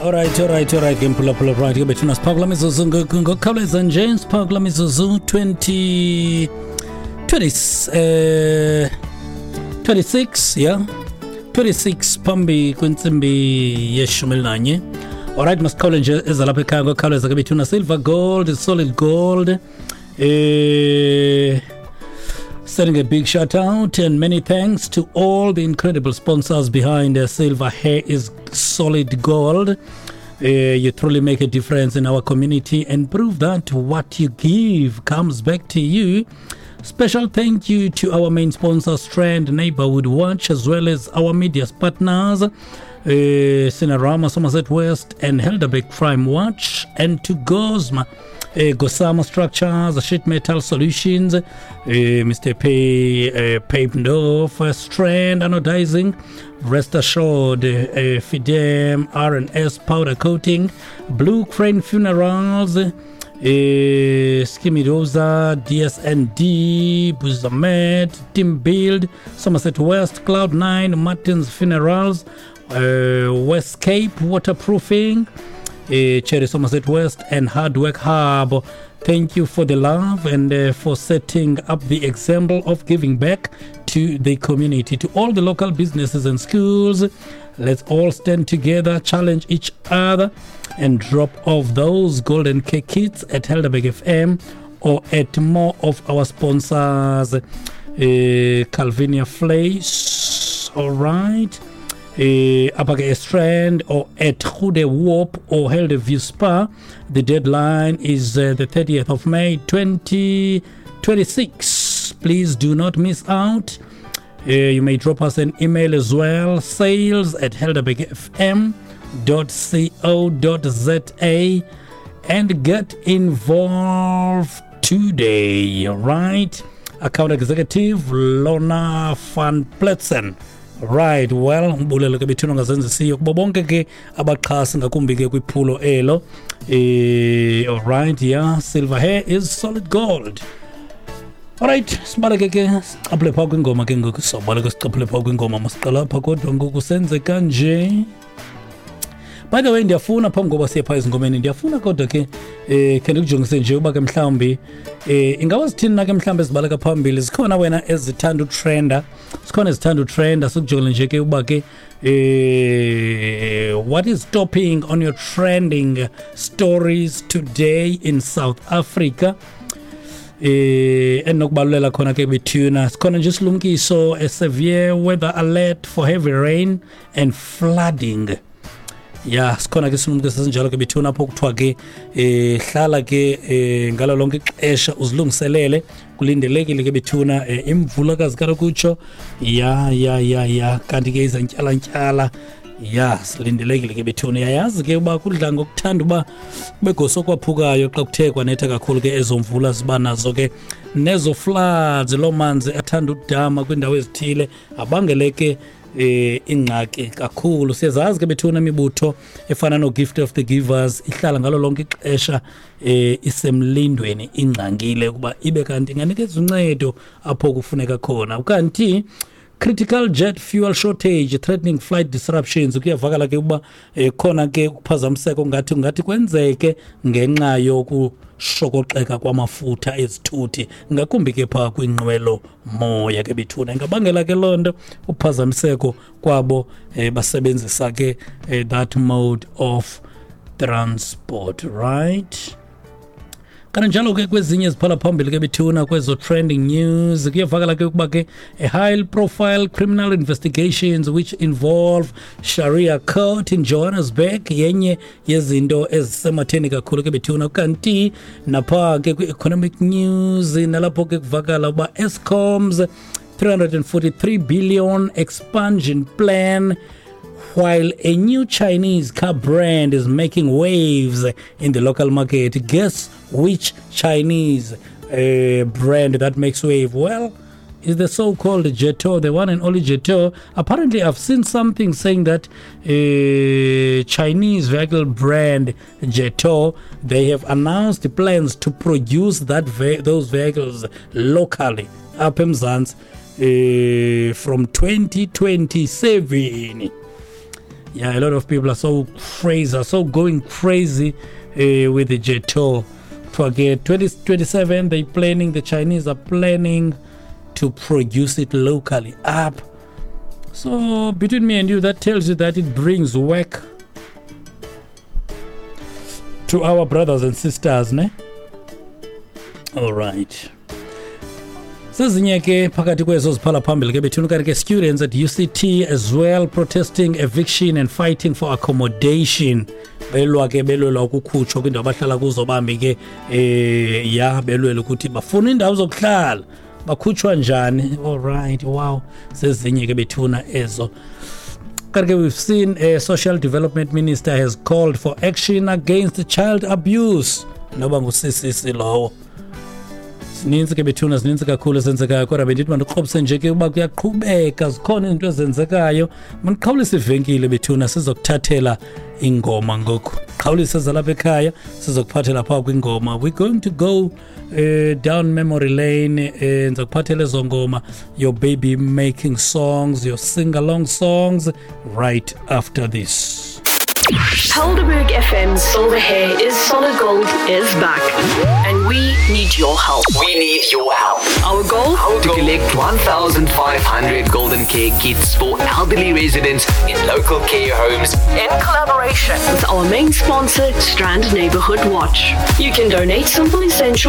Alright, alright, alright ke mphulaphula, right ke bethuna, siphaa kula mizuzu ngokukhawuleza nje, siphaa kula mizuzu 20 20 26, yeah, 26 phambi kwentsimbi yeshumi elinanye. Alright, masikhawule nje ezalapha ekhaya ngokukhawuleza ke bethuna. Silver gold, solid gold, sending a big shout out and many thanks to all the incredible sponsors behind Silver Hair is Solid Gold. You truly make a difference in our community and prove that what you give comes back to you. Special thank you to our main sponsor, Strand Neighborhood Watch, as well as our media partners, Cinerama, Somerset West, and Helderberg Crime Watch, and to Gosma, Gosama Structures, Sheet Metal Solutions, Mr. P. Papendorf, Strand Anodizing, Rest Assured, Fidem, R&S Powder Coating, Blue Crane Funerals, Skimidoza, DSND, Buzamed, Team Build, Somerset West, Cloud9, Martin's Funerals, West Cape Waterproofing, Cherry Somerset West, and Hard Work Hub. Thank you for the love and for setting up the example of giving back to the community, to all the local businesses and schools. Let's all stand together, challenge each other, and drop off those golden cake kits at Helderberg FM or at more of our sponsors, Calvinia Place, all right, apha ke Strand or at Goede Hoop or Helderview Spa. The deadline is the 30th of May 2026. Please do not miss out. You may drop us an email as well, sales@helderbergfm.co.za, and get involved today. All right. Account Executive Lona van Pletsen. Right, well, umbulelo ke bethuna ngazenzisiyo kubo bonke ke abaxhasi, ngakumbi ke kwiphulo elo. All right, yeah, silver hair is solid gold. Alright, sibaleke ke sicaphule phaa kwingoma ke ngoku, sobaleke sicaphule phaa kwingoma. Masiqala apha kodwa ngoku senze kanje. By the way, ndiyafuna phambi koba siye phaa ezingomeni, ndiyafuna kodwa ke khe ndikujongise nje uba ke mhlawumbi ingaba zithini na ke mhlawumbi ezibaleka phambili. Zikhona wena ezithanda utrenda, zikhona ezithanda utrenda. Sikujongele nje ke uba ke what is topping on your trending stories today in South Africa. Endinokubalulela khona ke bethuna, sikhona nje isilumkiso, a severe weather alert for heavy rain and flooding. Ya, sikhona ke isilumkiso esinjalo ke bethuna, apho kuthiwa ke hlala ke ngalo lonke ixesha uzilungiselele, kulindelekile ke bethuna imvula kazikalokutsho. Ya, kanti ke izantyalantyala ya silindelekile ke bethuna. Yayazi ke uba kudla ngokuthanda uba kube goso kwaphukayo xa kuthe kwanetha kakhulu ke, ezo mvula ziba nazo ke nezo floods, loo manzi athanda udama kwiindawo ezithile, abangele ke ingxaki kakhulu. Siyazazi ke bethuna imibutho efana no-Gift of the Givers ihlala ngalo lonke ixesha isemlindweni, ingxangile ukuba ibe kanti inganikeza uncedo apho kufuneka khona. Kanti critical jet fuel shortage threatening flight disruptions, kuyavakala ke ukuba khona ke ukuphazamiseka ngathi kwenzeke ngenxa yokushokoxeka kwamafutha ezithuthi, ngakumbi ke phaa kwinqwelo moya ke bethuna. Ingabangela ke loo nto uphazamiseko kwabo basebenzisa ke that mode of transport, right? Kananjalo ke kwezinye eziphala phambili ke bethuna kwezo trending news, kuyavakala ke ukuba ke a high profile criminal investigations which involve Sharia court in Johannesburg yenye yezinto ezisematheni kakhulu ke bethuna. Kanti napha ke kwi-economic news, nalapho ke kuvakala uba Eskom's 343 billion expansion plan, while a new Chinese car brand is making waves in the local market. Guess which Chinese brand that makes wave? Well, is the so-called Jetour, the one and only Jetour. Apparently, I've seen something saying that Chinese vehicle brand Jetour, they have announced plans to produce that those vehicles locally up eMzansi from 2027. Yeah, a lot of people are so crazy, are so going crazy with the Jetour. Kuthiwa ke 2027 they planning, the Chinese are planning to produce it locally up. So between me and you, that tells you that it brings work to our brothers and sisters, ne? All right. Sezinye ke phakathi kwezo ziphala phambili ke bethuna, kanti ke students at UCT as well protesting eviction and fighting for accommodation. Belwa ke, belwela ukukhutshwa kwindawo abahlala kuzo. Bambi ke ya, belwela ukuthi bafuna indawo zokuhlala, bakhutshwa njani? All right, wow, sezinye ke bethuna ezo. Kanti ke we've seen a social development minister has called for action against child abuse, noba ngusisisi lowo. Zininzi ke bethuna, zininzi kakhulu ezenzekayo, kodwa bendithi mandikrobise nje ke uba kuyaqhubeka, zikhona izinto ezenzekayo. Mandiqhawulise ivenkile bethuna, sizokuthathela ingoma ngoku. Qhawulise zalapha ekhaya, sizokuphathela phaa kwingoma. We're going to go down memory lane. Ndizakuphathela ezo ngoma, your baby making songs, your sing along songs, right after this. Helderberg FM's Silver Hair is Solid Gold is back. And we need your help. We need your help. Our goal? To collect 1,500 golden care kits for elderly residents in local care homes in collaboration with our main sponsor, Strand Neighborhood Watch. You can donate simple essentials.